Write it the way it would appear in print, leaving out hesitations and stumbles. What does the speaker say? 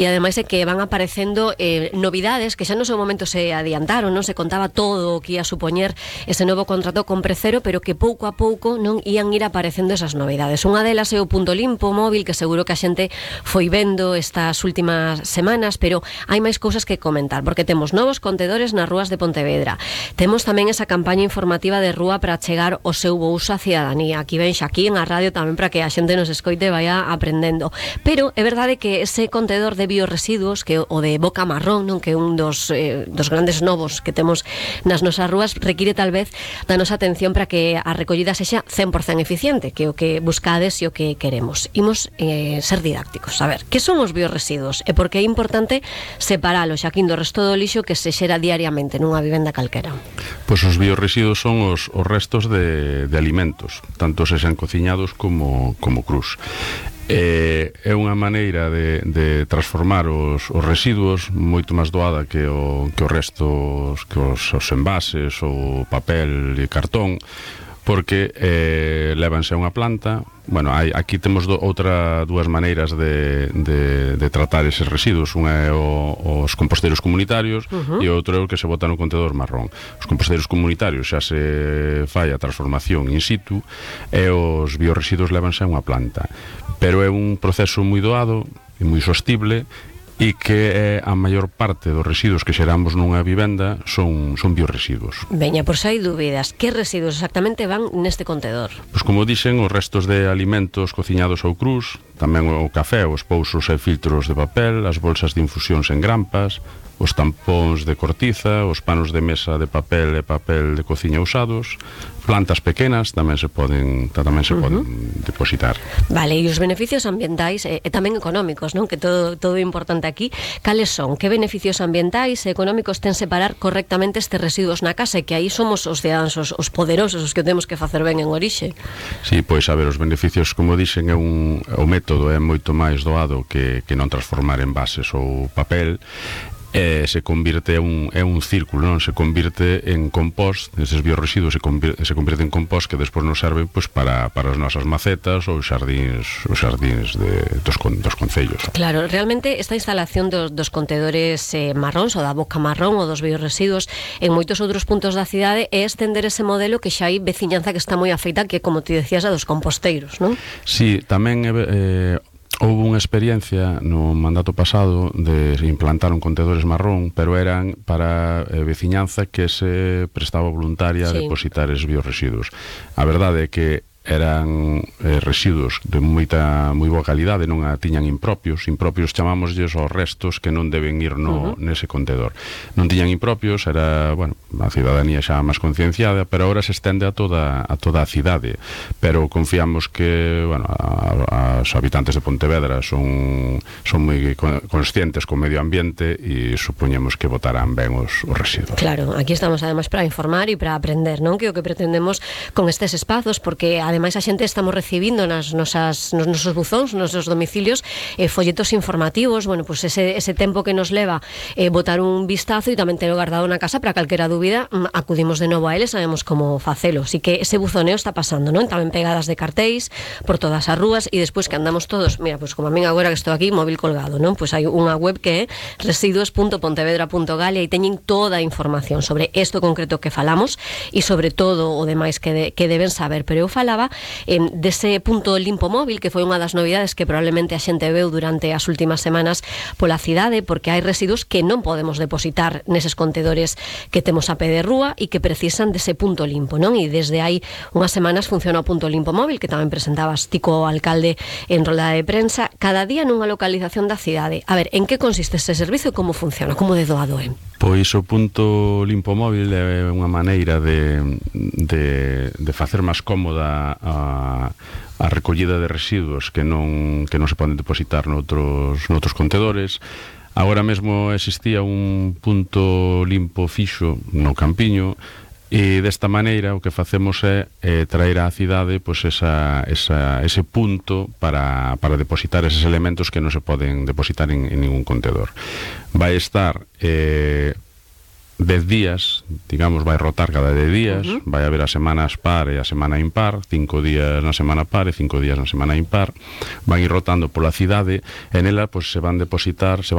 E ademais é que van aparecendo novidades que xa no seu momento se adiantaron, non se contaba todo o que ia a supoñer ese novo contrato con Precero, pero que pouco a pouco non ían ir aparecendo esas novidades. Unha delas é o punto limpo móvil, que seguro que a xente foi vendo estas últimas semanas, pero hai máis cousas que comentar, porque temos novos contedores nas rúas de Pontevedra. Temos tamén esa campaña informativa de rúa para chegar o seu bo uso á cidadanía. Aquí ven xa aquí en a radio tamén para que a xente nos escoite e vaya aprendendo. Pero é verdade que ese contedor de bioresiduos, que o de Boca Marrón, non, que é un dos grandes novos que temos nas nosas rúas, require tal vez da nosa atención para que a recollida sexa 100% eficiente, que é o que buscades e o que queremos. Imos ser didácticos. A ver, que son os bioresiduos e por que é importante separalos, Xaquín, do resto do lixo que se xera diariamente nunha vivenda calquera? Pois os bioresiduos son os restos de alimentos, tanto se sean cociñados como crus. É unha maneira de transformar os residuos moito máis doada que os restos, que os envases, o papel e cartón, porque levanse a unha planta. Bueno, aquí temos dúas maneiras de tratar eses residuos. Unha é os composteiros comunitarios e outro é o que se bota no contedor marrón. Os composteiros comunitarios xa se fai a transformación in situ e os bioresiduos levanse a unha planta, pero é un proceso moi doado e moi sostible, e que a maior parte dos residuos que xeramos nunha vivenda son bioresiduos. Veña, por se hai dúbidas, que residuos exactamente van neste contedor? Pois como dixen, os restos de alimentos cociñados ou crus, tamén o café, os pousos e filtros de papel, as bolsas de infusións en grampas, os tampóns de cortiza, os panos de mesa de papel e papel de cociña usados, plantas pequenas tamén se poden depositar. Vale, e os beneficios ambientais e tamén económicos, non? Que todo é importante aquí. Cales son? Que beneficios ambientais e económicos ten separar correctamente estes residuos na casa, e que aí somos os cidadáns, os poderosos, os que temos que facer ben en orixe? Sí, pois a ver, os beneficios, como dixen, o método é moito máis doado que non transformar envases ou papel. Se convirte é un círculo, non? Se convirte en compost, eses bioresiduos se convirte en compost que despois nos serven pois para as nosas macetas ou os xardíns dos concellos. Claro, realmente esta instalación dos contedores marróns ou da Boca Marrón ou dos bioresiduos en moitos outros puntos da cidade é estender ese modelo que xa hai veciñanza que está moi afeita, que como ti decías, a dos composteiros, non? Sí, tamén houve unha experiencia no mandato pasado de implantar un contedores marrón, pero eran para veciñanza que se prestaba voluntaria a depositar os bioresiduos. A verdade é que eran residuos de moi boa calidade, non a tiñan impropios chamámoslles os restos que non deben ir nese contedor. Non tiñan impropios, era, bueno, a cidadanía xa máis concienciada, pero agora se estende a toda a cidade. Pero confiamos que, bueno, os habitantes de Pontevedra son moi conscientes co medio ambiente e supoñemos que votarán ben os residuos. Claro, aquí estamos ademais para informar e para aprender, non? Que o que pretendemos con estes espazos, porque ademais a xente estamos recibindo nos nosos buzóns, nos nosos domicilios, folletos informativos, bueno, pues ese tempo que nos leva botar un vistazo e tamén telo guardado na casa para calquera dúbida, acudimos de novo a eles, sabemos como facelo. Así que ese buzoneo está pasando, non? Tamén pegadas de cartéis por todas as rúas, e despois que andamos todos, mira, pues como a min agora que estou aquí, móvil colgado, non? Pues hai unha web que é residuos.pontevedra.gal e aí teñen toda a información sobre isto concreto que falamos e sobre todo o demais que deben saber. Pero eu falaba dese punto limpo móvil, que foi unha das novidades que probablemente a xente veu durante as últimas semanas pola cidade, porque hai residuos que non podemos depositar neses contedores que temos a pé de rúa e que precisan dese punto limpo, non? E desde hai unhas semanas funciona o punto limpo móvil, que tamén presentabas ti co alcalde en rolda de prensa, cada día nunha localización da cidade. A ver, en que consiste ese servicio e como funciona? Como de doado é? Pois o punto limpo móvil é unha maneira de facer máis cómoda a recollida de residuos que non se poden depositar noutros contedores. Agora mesmo existía un punto limpo fixo no Campiño, e desta maneira o que facemos é traer á cidade pois ese punto para depositar eses elementos que non se poden depositar en ningún contedor. Vai estar 10 días, digamos, vai rotar cada 10 días, vai haber as semanas par e a semana impar, 5 días na semana par e 5 días na semana impar, van ir rotando pola cidade, e nela pues, se van depositar,